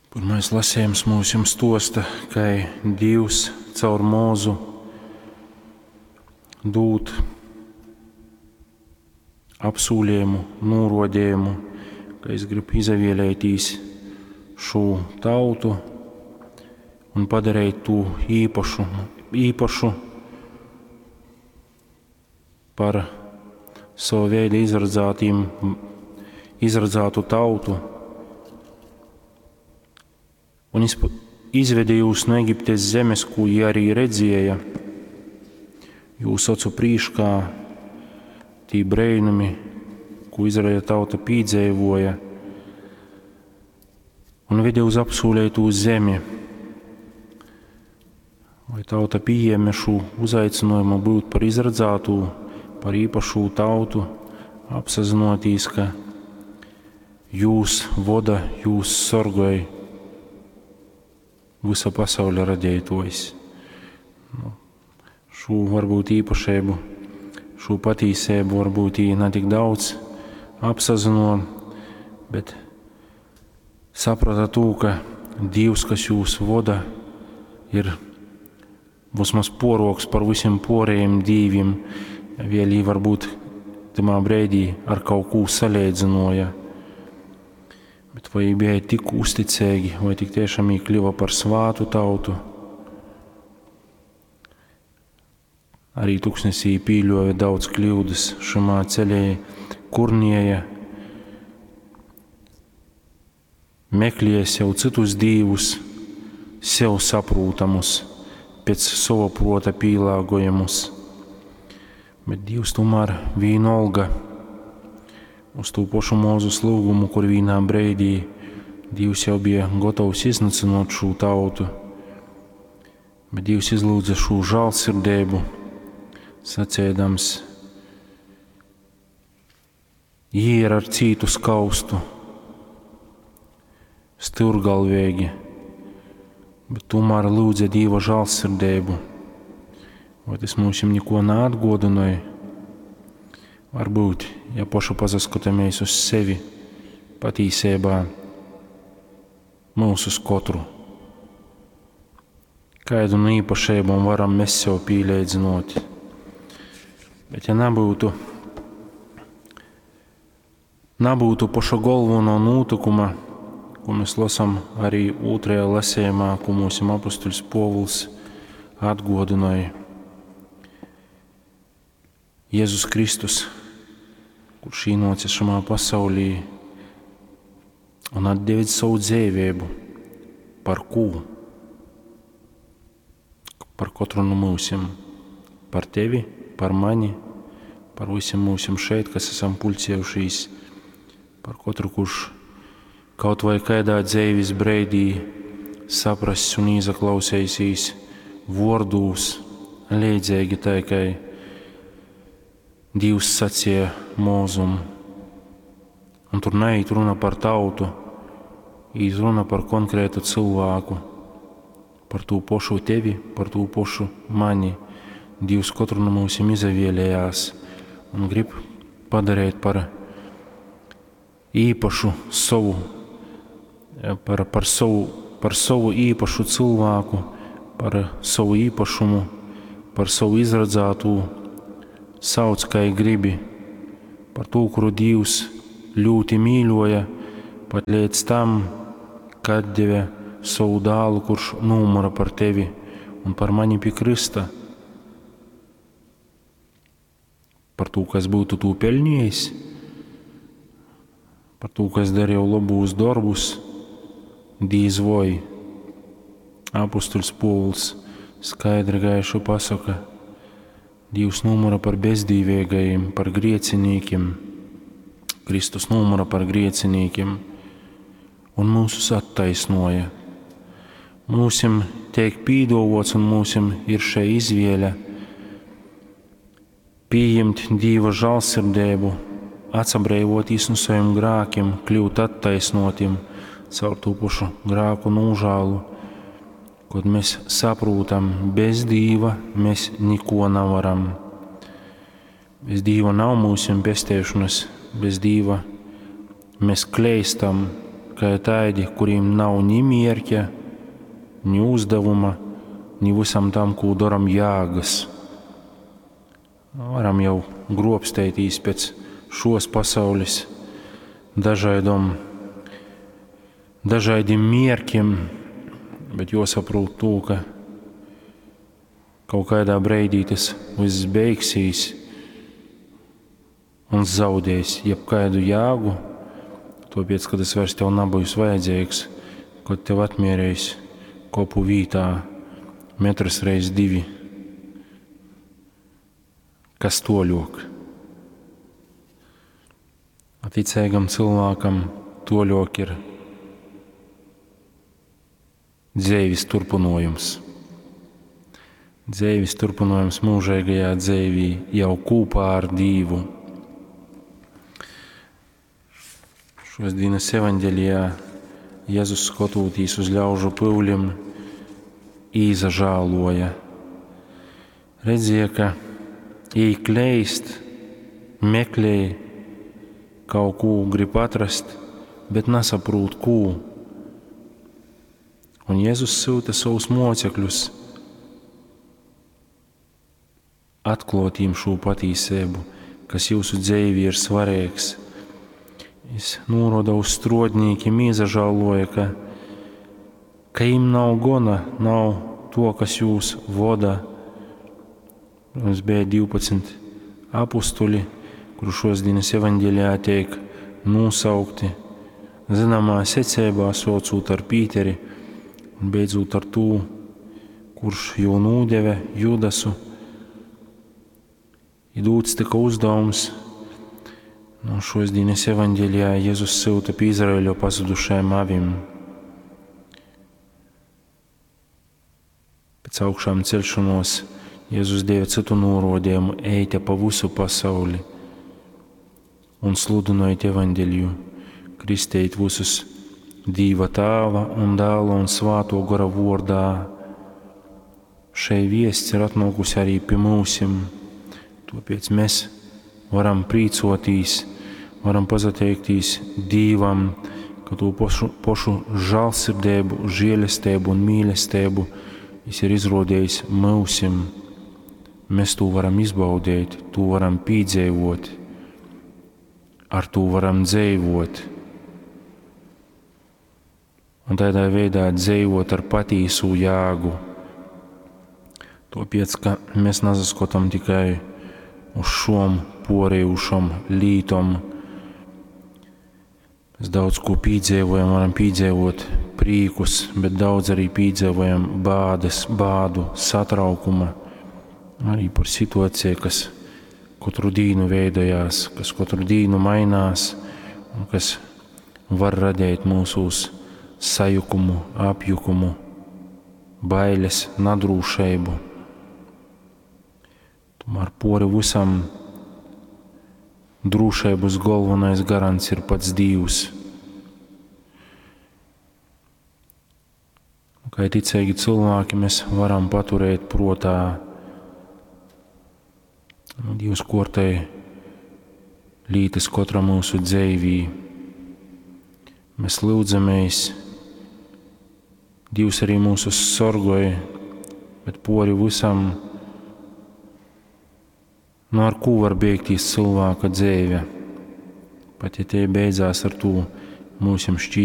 Pyrmais lasejums myusim stuosta, kai Dīvs caur Mūzu dūd apsūlējumu, nūrodējumu, ka es gribu izavēlētīs šū tautu un padarīt tū īpašu par savu veidu izradzātu tautu. Un izvede jūs no Egiptes zemes, ko jie arī redzēja, jūs ocu prīškā tī breinumi, ko Izraēla tauta pīdzeivoja, un vede uz apsūlētū zemi. Vai tauta pieņēma šo uzaicinājumu būt par izradzātū, par īpašū tautu, apsazinotīs, ka jūs voda, jūs sorgoj visa pasaules radītājs. Nu, šo varbūt īpašību, šo patīsību varbūt ne tik daudz apsazino, bet saprata to, ka Dievs, kas jūs voda, ir vismaz poroks par visiem porējiem dīvim, vēl jī varbūt tamā brīdī ar kaut ko salīdzinoja. Bet vai viņi bija tik uzticīgi, vai tik tiešām viņi kļuva par svātu tautu? Arī tuksnesī pīļoja daudz kļūdas šamā ceļā, kurnieja, meklēja sev citus dīvus, sev saprūtamus, pēc sava prota pīlāgojamus. Bet Dievs tomēr vienalga uz tū pašu Mūzus lūgumu, kur vienā brīdī Dievs jau bija gatavs iznīcināt šo tautu. Bet Dievs izlūdza šo žēlsirdību, sacēdams, jī ir ar cītu skaustu, stūrgalvīgi, bet tomēr lūdza Dieva žēlsirdību. Vai tas mums neko neatgodināja? Varbūt, ja pašu pasaskatāmies uz sevi, patīsībā mūsu uz katru. Kādu no īpašībām varam mēs sev pīlēdzinot. Bet ja nebūtu paša galveno notikuma, ko mēs lasām arī otrajā lasījumā, ko mūsu apustuļs Povuls atgodināja. Jēzus Kristus, kurš ienāca šajā pasaulī un atdeva savu dzīvību par ko? Par katru no mūsim, par tevi, par mani, par visiem mūsim šeit, kas esam pulcējušies, par katru, kurš kaut vai kādā dzīves brīdī saprass un izaklausīsies vārdūs, līdzīgi tai, kai Dievs sacīja Mūzum. Un tur neiet runa par tautu, īt runa par konkrētu cilvēku, par tū pašu tevi, par tū pašu mani. Dievs katru no mums izavēlējās un grib padarīt par īpašu savu, par savu īpašu cilvēku, par savu īpašumu, par savu izradzātu, sauc, kā gribi, par to, kuru Dievs ļoti mīļoja, pat līdz tam, kad deva savu dēlu, kurš numura par tevi un par mani pie krista. Par to, kas būtu to pelnījis, par to, kas darīja labus darbus, dīz vai. Apustuļs Pūls skaidri gaišu pasaka, Dievs numura par bezdīvīgajiem, par griecinīkiem, Kristus numura par griecinīkiem un mūsus attaisnoja. Mūsim tiek pīdovots un mūsim ir šai izvēle pieņemt Dieva žēlsirdību, atsabrēvoties no saviem grēkiem, kļūt attaisnotiem caur to pašu grēku nožēlu. Kad mēs saprotam, bez Dieva mēs neko nevaram. Bez Dieva nav mūsu pestēšanas, bez Dieva mēs kleistam, kai taidi, kurīm nav ni mierķa, ni uzdevuma, ni vysam tam, kū doram, jēgys. Varam jau grobsteitīs pēc šos pasaulis dažaidom, dažaidim mierkim, bet juosaprūt tū, ka kaut kādā breidī tas viss beigsies un zaudēs jebkādu jēgu, tāpēc, ka tas vairs tev nebūs vajadzīgs, kad tev atmierēs kopu vītā metrs reiz divi. Kas toļok? Ticīgam cilvēkam toļok ir dzeivis turpinājums. Dzeivis turpinājums mūžīgajā dzeivī jau kopā ar Dīvu. Šos dienas evaņģelijā Jēzus skotūtīs uz ļaužu pyulim īzažāloja. Redzēja, ka jī kleist, meklēja, kaut ko grib atrast, bet nesaprūt, ko. Un Jēzus syuta savus mocekļus atklāt jiem šo patīsību, kas jūsu dzīvī ir svarīgs. Es noroda uz strodnīkiem, iezažāloja, ka jiem nav gona, nav to, kas jūs voda. Mums bija 12 apustuļi, kuru šos dienas evaņģelijā tiek nosaukti zināmā secībā, saucot ar Pīteri un beidzot ar to, kurš jau nūdeve Judasu. Ir dūts tika uzdevums. No šos dienas evaņģelijā Jēzus syuta pie Izraēļa pazudušajiem avim. Pēc augšām celšanos Jēzus deva citu norodījumu: ejte pa visu pasauli un sludinojiet evaņģeliju, kristējiet visus Dīva Tāva un Dēla un Svāto Gora vārdā. Šai viests ir atnākusi arī pie mūsim, tāpēc mēs varam prīcotīs, varam pazateikties Dīvam, ka to pošu žālsirdību, žēlastību un mīlestību Viņš ir izrodījis mūsim. Mēs to varam izbaudīt, to varam piedzīvot, ar to varam dzīvot. Un tādā veidā dzīvot ar patīsu jēgu. Tāpēc, ka mēs nesaskatām tikai uz šom porējušam lītom. Mēs daudz ko piedzīvojam, varam piedzīvot prīkus, bet daudz arī piedzīvojam bādes, bādu, satraukuma, arī par situāciju, kas katru dienu veidojās, kas katru dienu mainās un kas var radīt mūsos sajukumu, apjukumu, bailes, nadrūšību. Tomēr pori visam drošības galvenais garants ir pats Dievs. Kā ticīgi cilvēki mēs varam paturēt protā, nu, Dievs kortē lītas katra mūsu dzīvī. Mēs lūdzamies, Dievs arī mūsu sorgoja, bet pori visam, nu ar ko var beigties cilvēka dzīve? Pat ja tie beidzās ar to mūsim šķītamā.